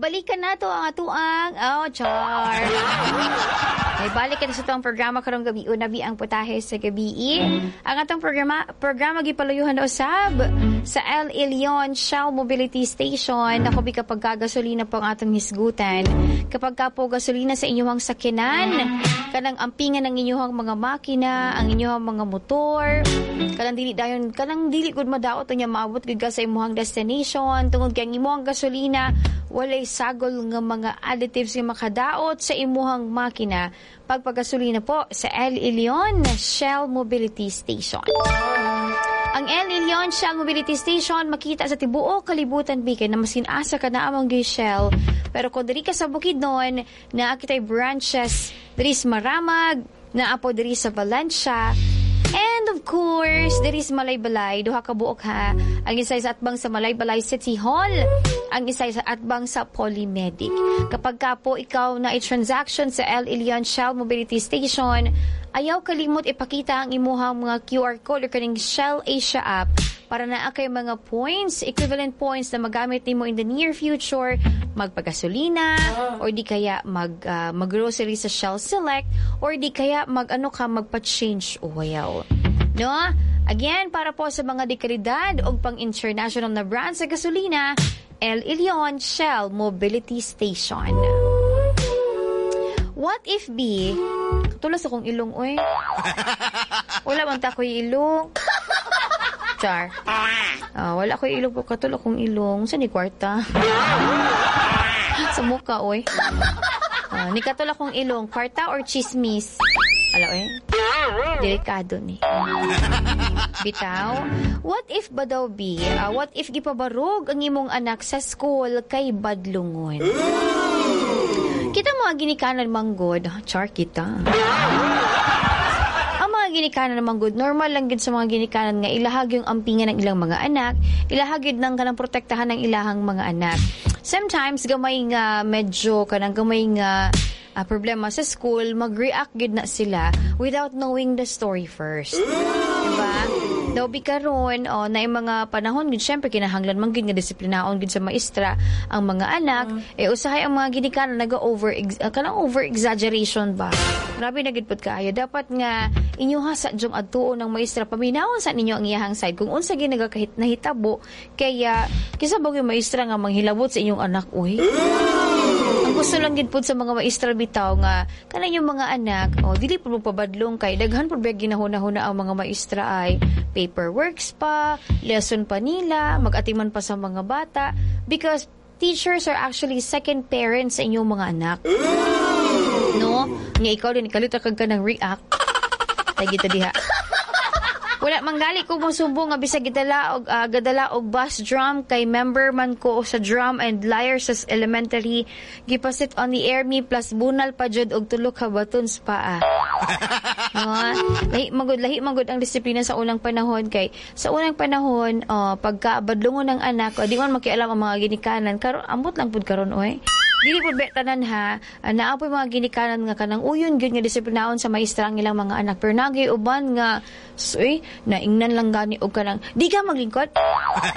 Balikan nato ang atuang, oh, char. Ay, balik kita sa atong programa karong gabi, unabi ang putahe sa gabi. Ang atong programa gipalayuhan na usab sa El Ilion Shell Mobility Station. Ako bi kapag kagasolina po ang atong hisgutan. Kapag ka po gasolina sa inyong sakyanan, kanang ampingan ng inyong mga makina, ang inyong mga motor, kanang dili dayon, kanang dili gud madaot unya maabot gud ka sa imong destination tungod kay ang imong gasolina walay sagol nga mga additives nga makadaot sa imuhang makina, pagpagasolina po sa El Ilion Shell Mobility Station. Ang El Ilion Shell Mobility Station makita sa tibuok kalibutan bikin na maskin asa ka na among Shell. Pero kung diri ka sa Bukidnon, naa kitay branches diri sa Maramag, naa po diri sa Valencia, and of course, diri sa Malaybalay, duha ka buok ha. Ang isa sa atbang sa Malaybalay City Hall, ang isa sa atbang sa Polymedic. Kapag ka po ikaw na i-transaction sa El Ilion Shell Mobility Station, ayaw kalimot ipakita ang imuhang mga QR code or kaning Shell Asia app para naa kay mga points, equivalent points na magamit nimo in the near future, magpagasolina, or di kaya mag-grocery sa Shell Select, or di kaya mag-ano ka, magpa-change oil. No? Again, para po sa mga dekalidad o pang-international na brand sa gasolina, El Ilion Shell Mobility Station. What if be, tulas akong ilong, oy. Wala man ta ko'y ilong. Char. Ah, wala ko'y ilong. Katulad akong ilong. Saan ni kwarta? Sa muka, oy. Ah, ni katulad akong ilong. Kwarta or chismis? Ala, oy. Delikado ni. Bitaw. What if ba daw be? What if gipabarog ang imong anak sa school kay badlungon? Kita mga ginikanan manggod. Char kita. Ang mga ginikanan manggod, normal lang gid sa mga ginikanan nga ilahag yung ampingan ng ilang mga anak, ilahag yun ng kanang protektahan ng ilahang mga anak. Sometimes gamay nga medyo kanang gamay nga problema sa school, mag-react gid na sila without knowing the story first. Diba? Daw bi karon oh, na yung mga panahon gid syempre kinahanglan man gid nga disiplinaon gid sa maestra ang mga anak, eh usahay ang mga ginikanan naga over kanang over exaggeration ba. Grabe na gid pud kaayo. Dapat nga inyo sa jung adtuon ng maestra, paminawon sa ninyo ang iyahang side kung unsa gyud nagakahit nahitabo, kaya kisa ba gyud maestra nga manghilabot sa inyong anak, uy. Ang gusto lang gid pud sa mga maestra bitaw nga kanang yung mga anak, oh, dili pud mo pabadlong kay daghan pud ba ginahuna-huna ang mga maestra ay paperworks pa, lesson pa nila, mag-atiman pa sa mga bata because teachers are actually second parents sa inyong mga anak. No? Nga ikaw din kalit kag ka ng react. Tay kita diha. Wala manggali ko mosumbong nga bisag gidala og gadala og bass drum kay member man ko sa drum and lyre sa elementary, gipasit on the air me plus bunal pa jud og tulo ka batons pa ah. No? Lahi magud ang disiplina sa unang panahon kay sa unang panahon, pagka badlongon ng anak, di man makialam ang mga ginikanan karon, amot lang pud karon oy. Dili pud be tanan ha, naa poy mga ginikanan nga kanang uyon gyud nga disiplinaon sa maestra ang ilang mga anak. Pero nagay uban nga, uy, naingnan lang gani og kanang di ka maglingkod.